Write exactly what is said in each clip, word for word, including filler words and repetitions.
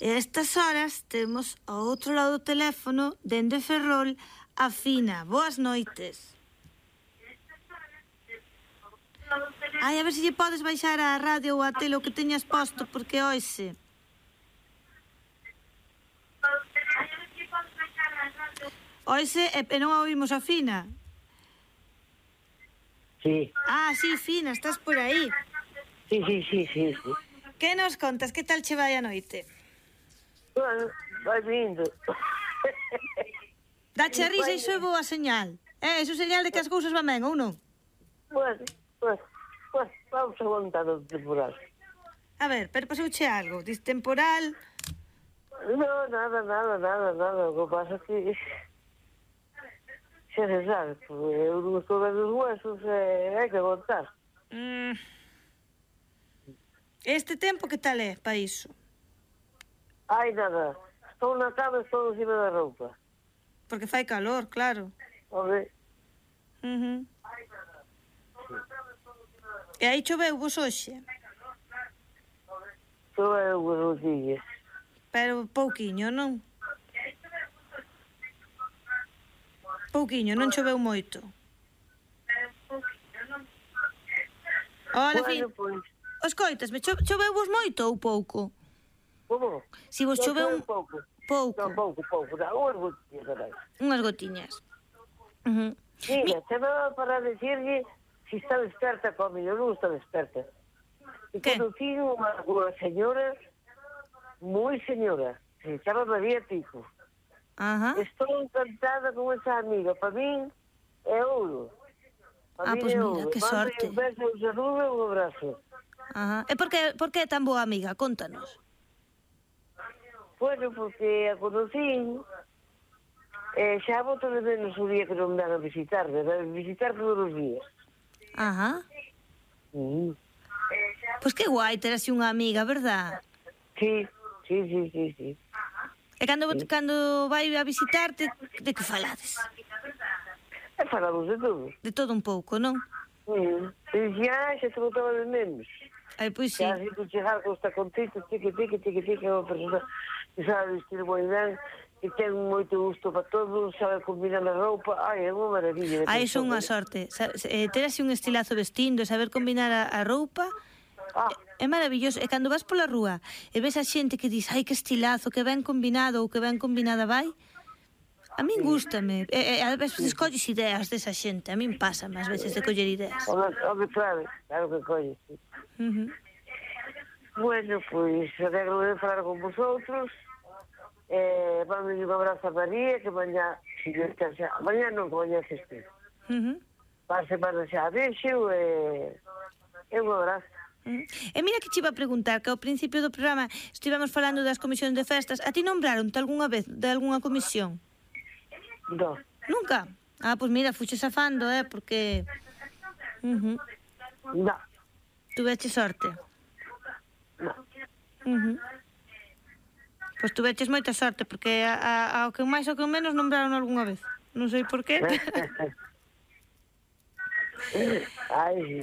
E a estas horas temos ao outro lado do teléfono, dende Ferrol, a Fina. Boas noites. Ai, a ver se lle podes baixar a radio ou a tele o que teñas posto, porque oise. Oise e, e non a oímos a Fina. Sí. Ah, sí, Fina, estás por aí. Sí, sí, sí, sí, sí. Que nos contas? Que tal che vai a noite? Bueno, vai vindo. Dache a risa, iso é boa señal. Eh, iso é señal de que as cousas van ben, ou non? Bueno, pues, pues, vamos aguantar o temporal. A ver, pero pasouche algo, dis temporal... No, nada, nada, nada, nada. O que pasa é que... Xa se sabe, porque eu non estou vendo os huesos e hai que aguantar. Mm. Este tempo que tal é para iso? Ai, nada. Estou na cama e estou encima da roupa. Porque fai calor, claro. Ok. Uh-huh. E aí choveu vos hoxe? Choveu unhas gotillas. Pero pouquiño, non? Pouquiño, non choveu moito. Hola, Bueno, Fin. pois... Os coitas, me cho choveu vos moito ou pouco? Como? Si vos choveu un... pouco. Pouco. Non, pouco, pouco. Dá unhas gotillas, carai. Unhas gotiñas. Uh-huh. Mira, chamaba para decirlle si está desperta comigo, non está desperta. E Que? conocí unha, unha señora, moi señora, se chama María Pico. Ajá. Estou encantada con esa amiga. Para min é ouro. Ah, pois mira, que sorte. Un beso, un saludo e un abrazo. Ajá. E por que, por que é tan boa amiga? Contanos. Bueno, porque a conocí, eh, xa boto de menos o día que non me dan a visitar, de visitar todos os días. Ajá. Mm. Pois que guai ter así unha amiga, verdad? Sí, sí, sí, sí, sí. E cando, sí. cando vai a visitarte, de que falades? E falamos de todo. De todo un pouco, non? Mm. E xa, xa te botaba de menos. Ai, pois sí. Xa, se tu chegar con esta contito, tique, tique, tique, tique, é unha persona que sabe vestir moi ben, que ten moito gusto para todo, sabe combinar a roupa. Ai, é unha maravilla. Ai, iso é unha sorte. Sa eh, ter así un estilazo vestindo, saber combinar a, a roupa, Ah. é maravilloso. E cando vas pola rúa e ves a xente que dis, ai, que estilazo, que ben combinado ou que ben combinada vai, a min gústame. E, e a veces colles ideas desa xente. A min pásame ás veces de coller ideas. O que claro, claro que colles, sí. Uh -huh. Bueno, pois, alegro de falar con vosotros. Eh, vamos un abrazo a María, que mañá, si Dios está xa, mañá non, que mañá se este. Uh -huh. Para a semana xa vexo, e, e un abrazo. Uh -huh. E mira que che iba a preguntar, que ao principio do programa estivemos falando das comisións de festas. A ti nombraron-te algunha vez de algunha comisión? No. Nunca? Ah, pois mira, fuches afando, eh, porque... Uh -huh. No. Tuveche sorte. No. Uh -huh. Pois tuveches moita sorte, porque a, a, ao que máis ou que menos nombraron algunha vez. Non sei por qué. Ai, sí.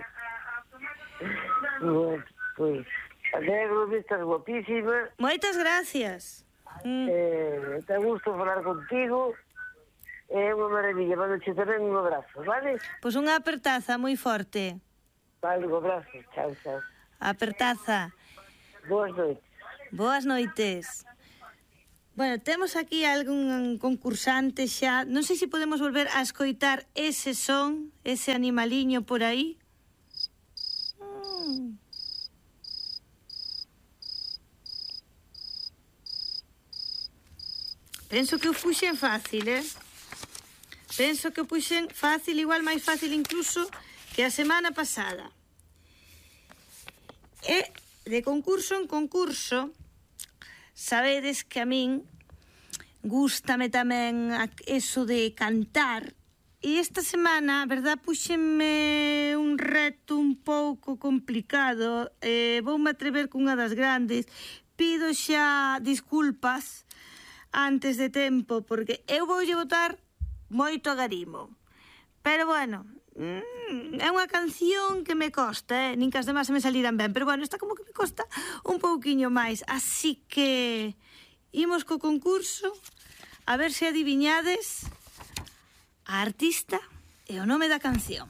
Bueno, pois, alegro de estar guapísima. Moitas gracias. Mm. Eh, te gusto falar contigo. É unha maravilla. Mando che tamén un abrazo, vale? Pois unha apertaza moi forte. Vale, un abrazo. Chao, chao. Apertaza. Boas noites. Boas noites. Bueno, temos aquí algún concursante xa. Non sei se podemos volver a escoitar ese son, ese animaliño por aí. Mm. Penso que o puxen fácil, eh? Penso que o puxen fácil, igual máis fácil incluso que a semana pasada. E de concurso en concurso, sabedes que a min gústame tamén eso de cantar. E esta semana, a verdad, puxenme un reto un pouco complicado. Eh, voume atrever cunha das grandes. Pido xa disculpas antes de tempo, porque eu voulle botar moito agarimo. Pero bueno, mm, é unha canción que me costa, eh? Nin que as demás se me saliran ben, pero bueno, esta como que me costa un pouquiño máis, así que imos co concurso, a ver se adiviñades a artista e o nome da canción.